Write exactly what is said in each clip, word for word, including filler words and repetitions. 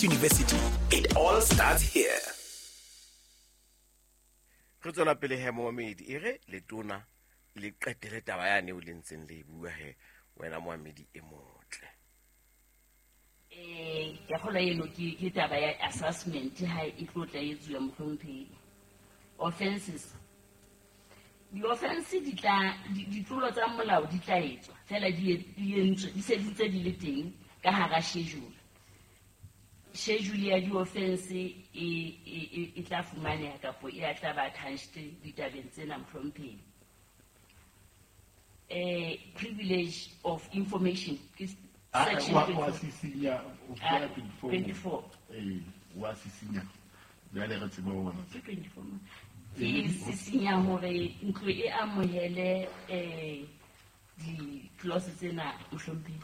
University. It all starts here. Re tswela pele he momamedi, e re letona le qetele taba yane o le ntseng le e bua he wena momamedi e motle. Eh, ke kgolwa eno ke ke taba ya assessment ha e tlo tla etsuwa mohlomphehi. Offenses. Di-offense di tla ditlolo tsa molao di tla etswa fela di entswe di se di ntse di le teng ka hara schedule. Schedule ya di-offense e e e tla fumaneha kapo e a tla ba attached ditabeng tsena mohlomphehi. Eh, privilege of information ke section wa sisinya o fiela twenty-four. Eh, wa sisinya jwale re tsebe hore ke twenty-four. Ke sisinya hore ntlo e amohele eh di-clause tsena mohlomphehi.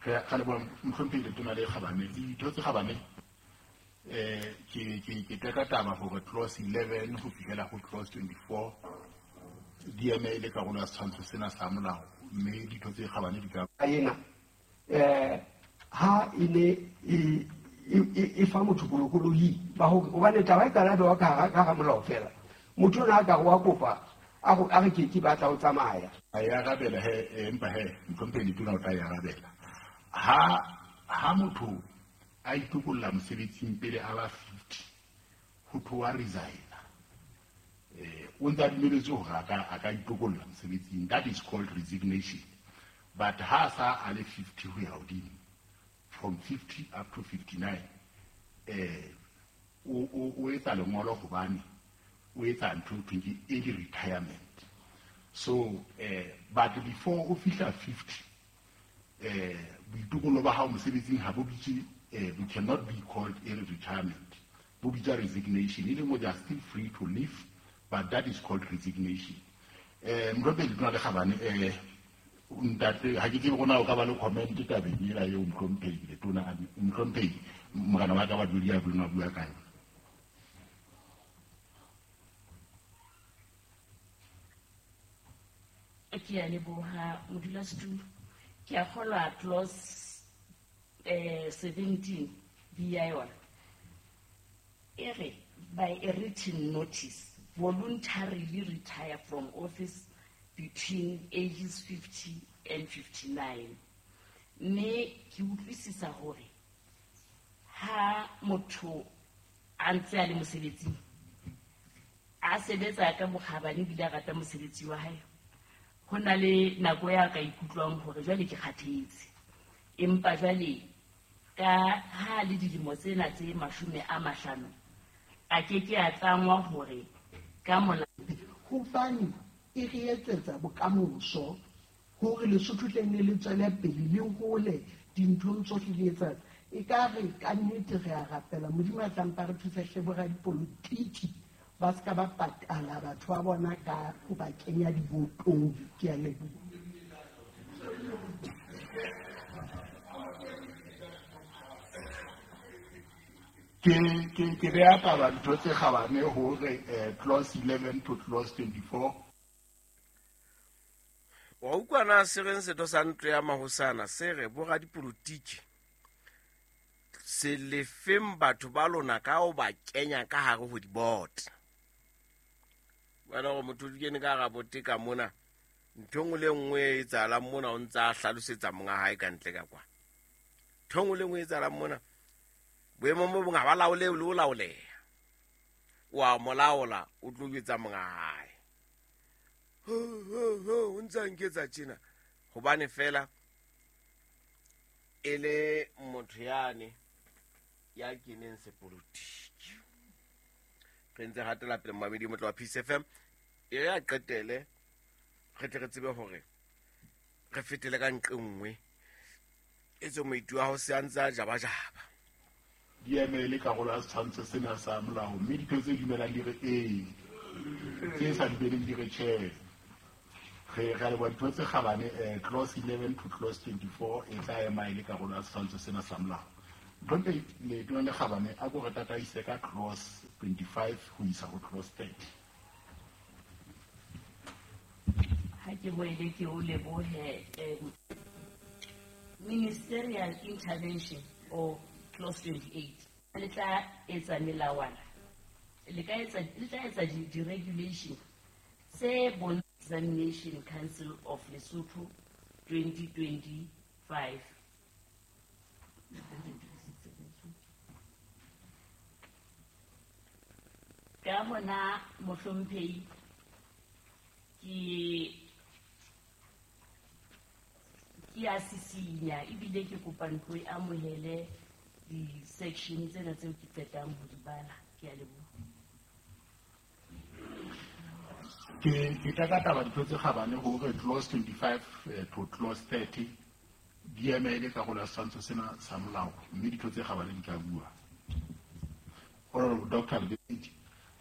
Re a leboha mohlomphehi letona le kgabane. Ditho tse kgabane eh ke ke ke teka taba hore clause eleven ho fihlela ho clause twenty-four di eme e le karolo ya setshwantsho sena sa molao, mme ditho tse kgabane di ka ena eh ha e ne e e fa motho bolokolohi ba hore hobane taba e qala bewa ka hara molao fela motho ona a ka wa kopa a go a re ke ke batla ho tsamaya a e arabela he, empa he mohlomphehi letona o tla e arabela. Ha ha motho a itokolla mosebetsing pele a ba fifty ho tloha resign, eh o ntse a dumeletswe hore a ka a ka itokolla mosebetsing, that is called resignation. But ha sa a le fifty ho ya hodimo, from fifty up to fifty-nine, eh o o o etsa lengolo hobane o etsa ntho e thweng ke early retirement. So eh but before o fihla fifty, eh boitokollo ba hao mosebetsing ha bo bitse, eh we cannot be called early retirement, bo bitsa resignation. E leng hore they are still free to leave, but that is called resignation. Eh mohlomphehi letona le kgabane, eh ntate ha ke tsebe hore na o ka ba le comment tabeng ena eo mohlomphehi letona mohlomphehi morena wa ka wa dula a bua bua ka yona. Ke a leboha modulasetulo. Ke a kgolwa clause eh seventeen B ya yona e re by a written notice voluntarily retire from office between ages fifty and fifty-nine. Mme ke utlwisisa hore ha motho a ntse a le mosebetsing a sebetsa ka bokgabane ebile a rata mosebetsi wa hae, ho na le nako ya ka ikutlwang hore jwale ke kgathetse, empa jwale ka ha le dilemo tsena tse mashome a mahlano a ke ke a tlangwa hore ka mola hobane e re etsetsa bokamoso hore Lesotho tle ne le tswele pele le hole dinthong tsohle di etsang. E ka re ka nnete re a rapela Modimo a tla mpa re thusa hle boradipolotiki ba ska ba patala batho ba bona ka ho ba kenya dibotong. Ke a leboha. Ke ke ke beha taba ntho tse kgabane hore clause eleven to clause twenty-four. Wa utlwa na se reng setho sa ntlo ya mahosana se re boradipolotiki se lefeng batho ba lona ka ho ba kenya ka hare ho diboto. Wena hore motho o kene ka hara bote ka mona, ntho e nngwe le nngwe e etsahalang mona o ntse a hlalosetsa monga hae ka ntle ka kwa. Ntho e nngwe le nngwe e etsahalang mona boemong bo bong ha ba laole le ho laoleha. Wa mo laola o tlo jwetsa monga hae. Ho ho ho o ntse a nketsa tjena hobane fela e le motho yane ya keneng sepolotiki. Re ntse hatela pele momamedi motlo wa Peace F M. E re a qetele re tle re tsebe hore re fetele ka nqe nngwe e tswe moitu wa ho se a ntse a jabajaba. Di eme le karolo ya setshwantsho sena sa molao, mme ditho tse dumelang di re ee, tse sa dumeleng di re tjhe. Re re a leboha ditho tse kgabane, eh clause eleven to clause twenty-four e tla ema e le karolo ya setshwantsho sena sa molao. Mohlomphehi letona le kgabane a ko re tataise ka clause twenty-five ho isa ho clause thirty. Ha ke boele ke o lebohe eh, ministerial intervention or clause twenty-eight. Le tla etsa melawana, le ka etsa, le tla etsa di, di-regulation tse bon Examination Council of Lesotho twenty twenty-five. Ka hona mohlomphehi ke ke a sisinya ebile ke kopa ntlo e amohele di-section tsena tseo ke qetang ho di bala. Ke a leboha. Ke ke tla ka taba ditho tse kgabane hore clause twenty-five to clause thirty di emele karolo ya setshwantsho sena sa molao, mme ditho tse kgabane di tla bua. Honorable Doctor Lebedi.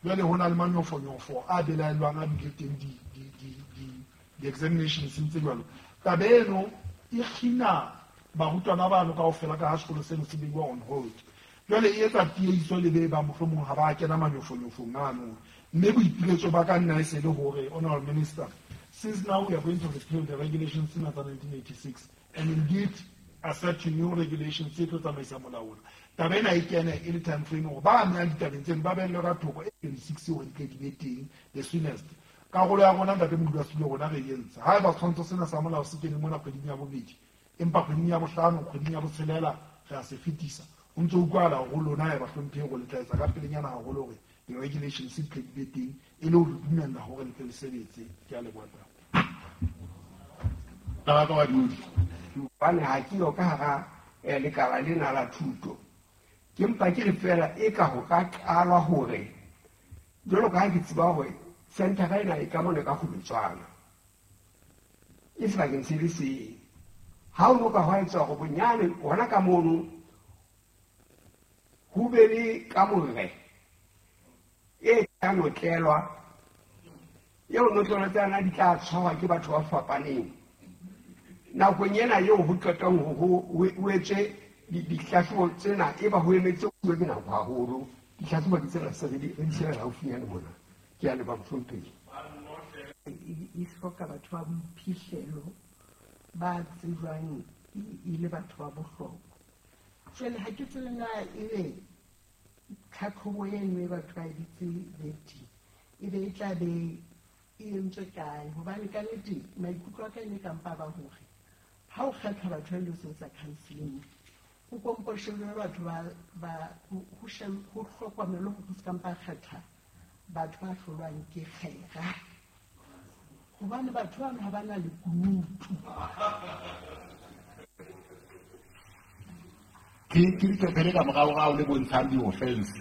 Jwale ho na le manyofonyofo a belaellwang a bile teng di di di di di-examinations tse jwalo. Taba eno e kgina barutwana bano kaofela ka ha sekolo seno se beiwa on hold. Jwale e etsa tiehiso le be ba mohlomong ha ba kena manyofonyofong ano. Mme boipiletso ba ka nna e se le hore, Honorable Minister, since now we are going to repeal the regulations tsena tsa nineteen eighty-six and indeed accept new regulations tse tlo tsamaisa molao ona. Taba ena e kene e le time frame hore ba amehang ditabeng tseno ba behellwe ka thoko e twenty-six hore di tle di be teng the soonest. Karolo ya rona ntate modulasetulo rona re e entse. Haeba setshwantsho sena sa molao se kene mona kgweding ya bobedi, empa kgweding ya bohlano, kgweding ya botshelela re a se fetisa. Ho ntso utlwahala hore lona ya bahlomphehi hore le tla etsa ka pelenyana haholo hore di-regulations di tle di be teng e le ho re dumella hore le tle le sebetse. Ke a leboha ntate. Taba ka badudi. Hobane ha ke yo ka hara lekala lena la thuto. Ke mpa ke re fela e ka ho ka qalwa hore jwalo ka ha ke tseba hore centera ena e ka mona ka Kgobetswana e sebakeng se le seng. Ha o no ka hwa etswa hore bonyane hona ka mono ho be le kamore e tla notlelwa, eo notlelo tsena di tla tshwarwa ke batho ba fapaneng. Nakong ena eo ho qetang ho ho etswe ditlhahlobo tsena, e ba ho emetse ho ke nako haholo. Ditlhahlobo ke tsena se re di re di shebela haufinyane mona. Ke a leboha mohlomphehi. E hloka batho ba boiphihlelo ba tsejwang e le batho ba bohlokwa. Jwale ha ke tsebe na ebe tlhatlhobo eno e batho ba e bitse vetting e be e tla be e entswe kae, hobane ka nnete maikutlo a ka e ne ka mpa ba hore ha o kgetha batho ba ilo sebetsa counselling ho kompo shebelwe batho ba ba ho ho hlokomelwe hore ho se ka mpa kgetha batho ba hlolwang ke kgera, hobane batho bano ha ba na lekunutu. Ke ke leqephe le ka moraorao le bontshang di-offense.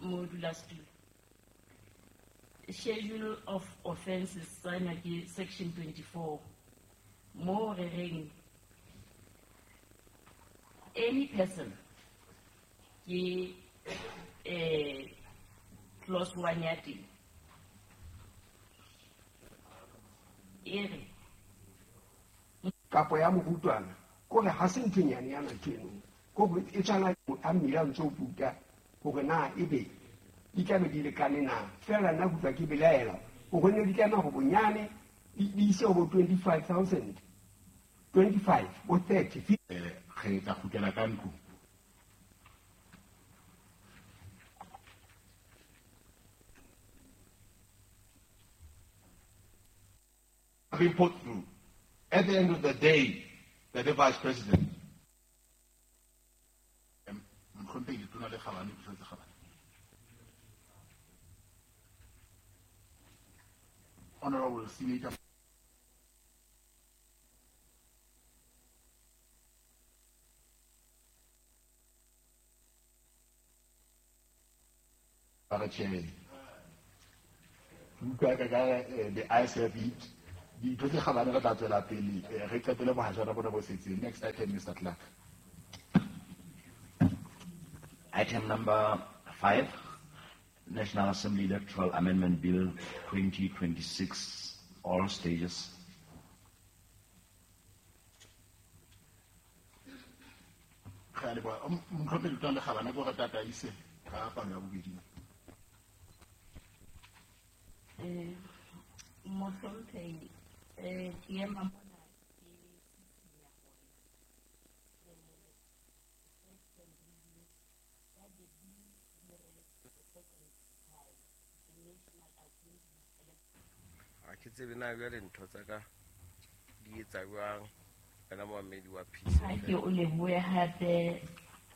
Modulasetulo. Schedule of Offences tsena ke section twenty-four mo re reng any person ke eh clause one ya teng e re kapo ya morutwana kore ha se ntho e nyane yana ntho eno, kore e tshwana a mmila o ntso o puta hore na ebe di tlabe di lekane na. Fela nna kutlwa ke belaela hore ne di tlameha ho bonyane di ise ho bo twenty-five thousand, twenty-five bo thirty. Eh, re tla kgutlela ka ntlong. Been put through. At the end of the day, the Vice President. Mohlomphehi Letona le kgabane, ditho tse kgabane. Honorable Senator. Ba re tjhe. Ke utlwa ka ka the eyes have it. Ditho tse kgabane re tla tswela pele re qetele bohajana bona bo setseng. Next item, Mister Clark. Item number five, National Assembly Electoral Amendment Bill twenty twenty-six, all stages. Re a leboha. Mohlomphehi Letona le Kgabane, ko re tataise ka palo ya bobedi. Eh, Mohlomphehi, eh, ke ema mona ke sisinya hore, eh, second reading ya the bill re the second time, the National Assembly elect- Ha ke tsebe na jwale ntho tsa ka di etsa jwang wena moamedi wa Peace Ha ke o lebohe hape,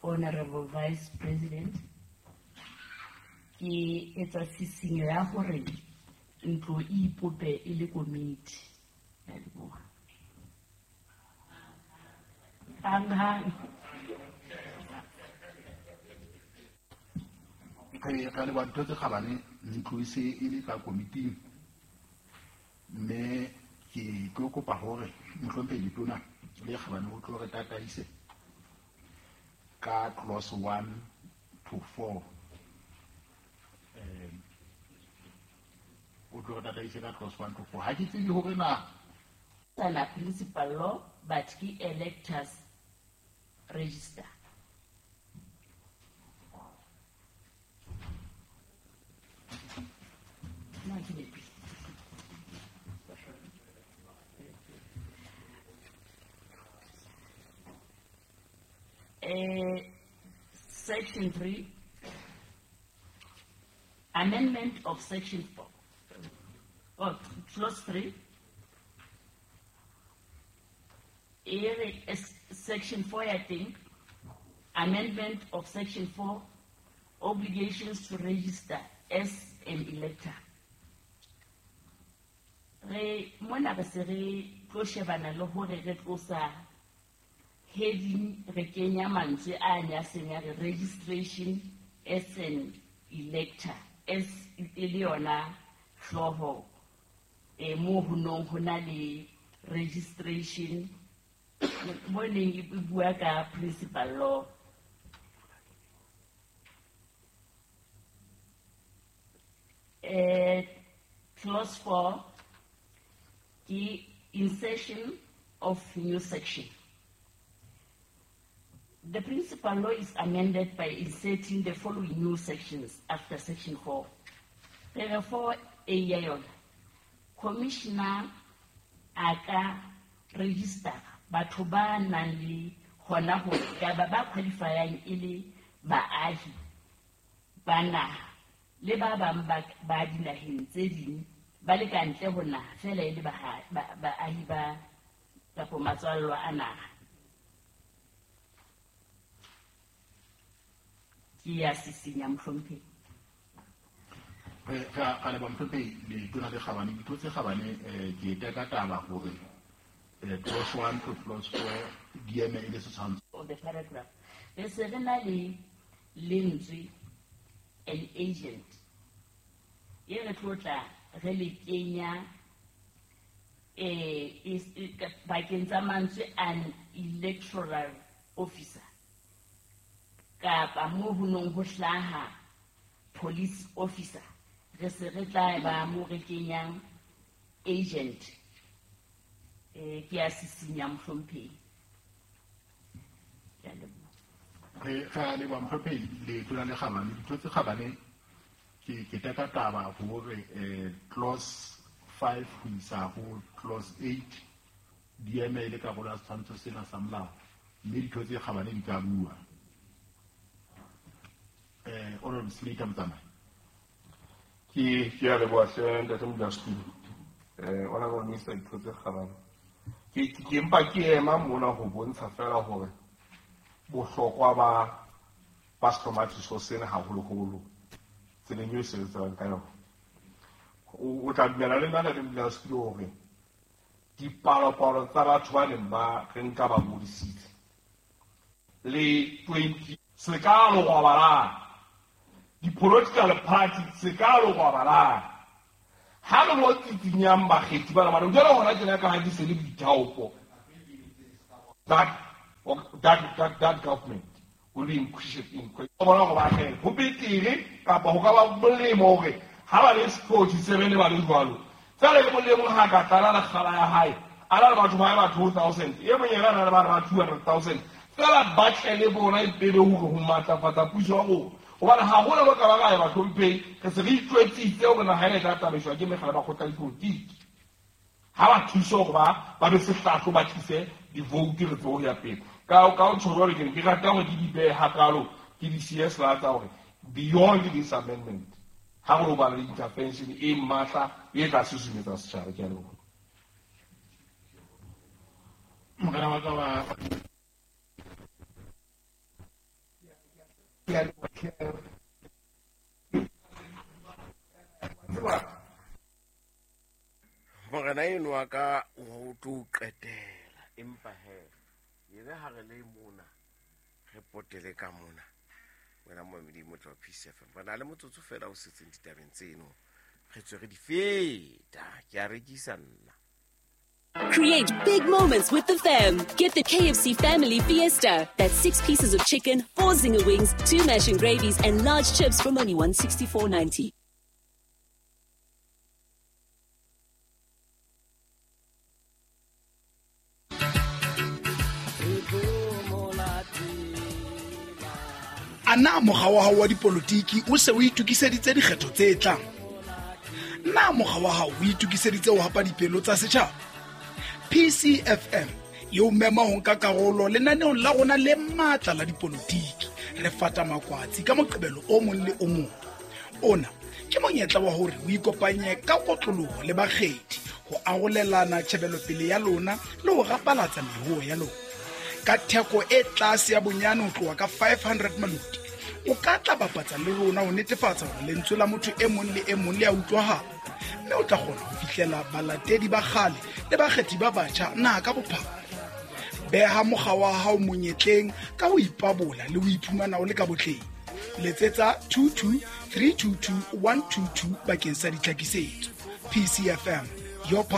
Honorable Vice President. Ke etsa tshisinyo ya hore ntlo e ipope e le komiti. Ke a leboha. Hang hang. Re re leboha ditho tse kgabane, ntlo e se e le ka komiting. Mme ke tlo kopa hore mohlomphehi Letona le Kgabane o tlo re tataise ka clause one to four. Eh, o tlo re tataise ka clause one to four. Ha ke tsebe hore na Sana principal law, but ke electors register. Na ke nepile. Eh, section three, amendment of section four, oh, clause three, e re, section four ya teng, amendment of section four, obligations to register as an elector. Re mona re se re tlo shebana le hore re tlosa heading, re kenya mantswe a ne a seng a re registration as an elector, as e le yona hlooho, eh, moo ho nong ho na le registration mo neng e bua ka principal law. Eh, clause four ke insertion of new section. The principal law is amended by inserting the following new sections after section four. Therefore, A ya yona, commissioner a ka register batho ba nang le hona ho ka ba ba qualifyang e le baahi ba naha le ba bang ba, ba dinaheng tse ding ba le ka ntle ho naha fela e le baha-, ba-, baahi ba kapa matswallwa a naha. Ke ya sisinya mohlomphehi. Re, re a leboha mohlomphehi Letona le Kgabane. Ditho tse kgabane, eh, ke teka taba hore, eh, clause one to clause four di eme e le setshwantsho. Of the paragraph. Re se re na le lentswe an agent. E re tlo tla re le kenya, eh, is, e, ka, bakeng tsa mantswe an electoral officer. Kapa moo ho nong ho hlaha police officer. Re se re tla ba mo re kenyang agent. Eh, ke ya sisinya mohlomphehi. Ke a leboha. Re, re a leboha mohlomphehi Letona le Kgabane. Ditho tse kgabane, ke, ke teka taba hore, eh, clause five ho isa ho clause eight di eme e le karolo ya setshwantsho sena sa molao, mme ditho tse kgabane di ka bua. Eh, Honorable Senator Motsamai. Ke, ke a leboha hle ntate Modulasetulo. Eh, Honorable Minister, ditho tse kgabane. Ke, ke, ke mpa ke ema mona ho bontsha fela hore bohlokwa ba, ba sehlomathiso sena haholoholo tseleng eo e sebetsang ka yona. O, o tla dumela le nna ntate Modulasetulo hore dipalopalo tsa batho ba neng ba re nka ba ngodisitse le twenty se ka lobalang, di-political party se ka lobalang. Ha le lo tsitsinyang bakgethi bana bana, jwale hona tjena ka ha di se le boithaopo. That, that, that, that government will be increased in question. Bona hore ba kgele, ho betere kapa ho ka ba molemo hore ha ba le forty-seven ba le jwalo. Fela e mong le mong ha ka tlala lekgala ya hae, a na le batho ba hae ba two thousand, e mong yena a na le ba ba two hundred thousand. Fela ba tle le bona e pele hore ho matlafatsa puso ya rona. Hobane haholo ba ka ba ra bahlomphehi, re se re itjwetsitse hore naha ena e tla tsamaiswa ke mekga le makgotla a dipolotiki. Ha ba thuse hore ba ba be sehlahlo ba tlise di-vote re tsebe ho ya pele. Ka ka ho tjho jwalo ke ne ke rata hore ke di behe hakalo, ke di siye sela tsa hore beyond this amendment ha re lo ba le intervention e matla e tla susumetsa setjhaba. Ke a leboha. Morena wa ka wa Morena eno wa ka o tlo qetela, empa he ere ha re le mona re potele ka mona wena momedi motho wa Peace F M. Re na le motsotso fela o setseng ditabeng tseno, re tswe re di feta. Ke a rekisa nna. Create big moments with the fam. Get the K F C Family Fiesta. That's six pieces of chicken, four zinger wings, two mash and gravies, and large chips from only one sixty-four ninety. Ana mokga wa hao wa dipolotiki o se o itokiseditse dikgetho tse tlang? Na mokga wa hao o itokiseditse ho hapa dipelo tsa setjhaba? P C F M e o mema ho nka karolo lenaneong la rona le matla la dipolotiki. Re fata makwatsi ka Moqebelo o mong le o mong. Ona ke monyetla wa hore o ikopanye ka kotloloho le bakgethi ho arolelana tjhebelopele ya lona le ho rapalatsa meruo ya lona. Ka theko e tlase ya bonyane ho tloha ka five hundred maloti, o ka tla bapatsa le rona ho netefatsa hore lentswe la motho e mong le e mong le a utlwahala, mme o tla kgona ho fihlela balatedi ba kgale le bakgethi ba batjha naha ka bophara. Beha mokga wa hao monyetleng ka ho ipabola le ho iphumana o le ka botleng. Letsetsa two two three two two one two two bakeng sa ditlhakisetso. P C F M, your power.